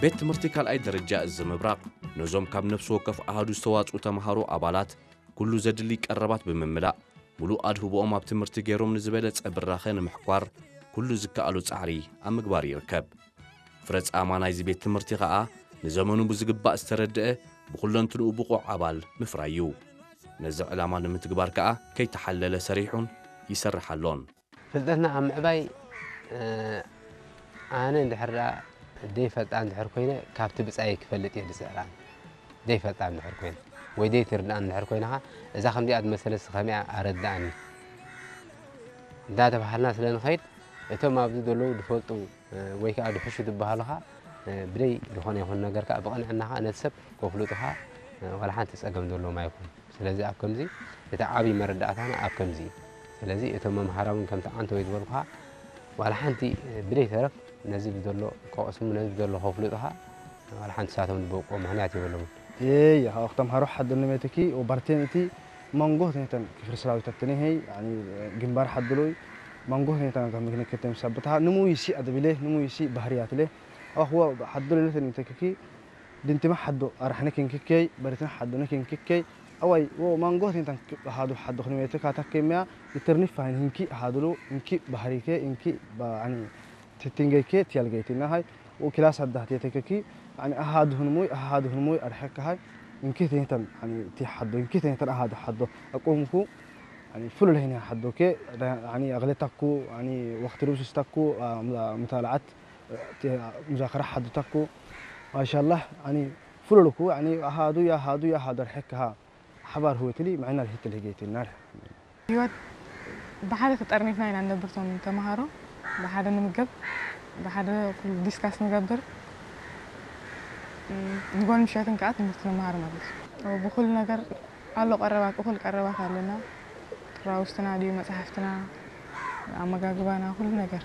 ቤት ትምህርቲ ካልኣይ ደረጃ እዚ ምብራቕ ነዞም ካብ ነፍሲ ወከፍ ኣሃዱ ዝተዋፅኡ ተምሃሮ ኣባላት ኩሉ ዘድሊ ቀረባት ብምምላእ፣ ሙሉእ ኣድህቦኦም ኣብ ትምህርቲ ገይሮም ንዝበለጸ ብራኸ ንምሕኳር ኩሉ ዝከኣሎ ጻዕሪ ኣብ ምግባር ይርከብ። ፍረ ጻማ ናይዚ ቤት ትምህርቲ ኸኣ ንዘመኑ ብዝግባእ ዝተረድአ፣ ብኹለንትንኡ ብቑዕ ኣባል ምፍራይ እዩ። ነዚ ዕላማ ንምትግባር ከኣ ከይተሓለለ ሰሪሑን ይሰርሕ ኣሎን። ፍልጠትና ኣብ ምዕባይ፣ እ፣ ኣነ እንድሕር ደኣ ደይፈልጣ እንድሕር ኮይነ፣ ካብቲ ብጻየይ ክፈልጥ እየ ዝጽዕር ኣነ። ደይፈልጣ እንድሕር ኮይነ፣ ወይ ደይትርድኣን እንድሕር ኮይንኻ፣ እዛ ከምዚኣ ዝመሰለስ ከመይ ኣረድኣኒ እንዳተባሃልና ስለ ንኸይድ፣ እቶም ኣብዚ ዘለዉ ዝፈልጡ፣ እ፣ ወይ ከኣ ዝሕሹ ዝበሃሉ ኸኣ፣ እ፣ ብደይ ዝኾነ ይኹን ነገር ከኣ ብቕንዕና ኸኣ ነቲ ሰብ ከፍልጡ ኸኣ፣ እ፣ ዋላ ሓንቲ ጸገም ዘለዎም ኣይኮኑን። ስለዚ ኣብ ከምዚ እቲ ዓቢ መረዳእታና ኣብ ከምዚ እዩ። ስለዚ እቶም መምሃራን እውን ከምቲ ዓንተወይ ዝበልኩኻ ዋላ ሓንቲ ብደይ ተረፍ ነዚ ብዘሎ ከቕስሙ፣ ነዚ ብዘሎ ከፍልጡኻ ዋላ ሓንቲ ሳቶም ዝበቅዎ ምኽንያት የብሎምን። Ee, ja, och de har haddon meteki och barten iti mango tenten kifir srawitattene hei, ani gimbar haddoloi mango tenten ka mikne ketem sabbata numu isi adabile, numu isi bahriyatle. Awa huwa haddolile ten tekeki dintima haddo arahne kenkikei, baritan haddone kenkikei. Awai wo mango tenten hadu haddo khne mete ka takke mea, iternif fahin hinki hadulu, hinki bahrike, hinki ba ani titingeke tialgeitina hai. Wo kilas hadda tetekeki, ani ahadu hunmui, ahadu hunmui arhek hai. Inki tenten ani ti haddo, inki tenten ahadu haddo. Akumku ani fulu lehni haddo ke, ani agletaku, ani waqti rubsistakku, mutalaat, muzakara haddo takku. Mashallah, ani fulu luku, ani ahadu ya hadu ya hadar hekka ha. ሓባር ህወትሊ ምዕናል ህትል ህገይትናል። ህይወት ብሓደ ተጠርኒፍና ኢና ንነብር። እቶም ተምሃሮ ብሓደ ንምገብ፣ ብሓደ ኩሉ ዲስካስ ንገብር። እም፣ ንጎን ምሸትን ከዓ ትምህርቲ ንመሃር ማለት እዩ። ብኩሉ ነገር ኣሎ ቀረባት፣ እኩል ቀረባት ኣለና። ጥራውስትና ድዩ፣ መፅሓፍትና፣ ኣመጋግባና፣ ኩሉ ነገር።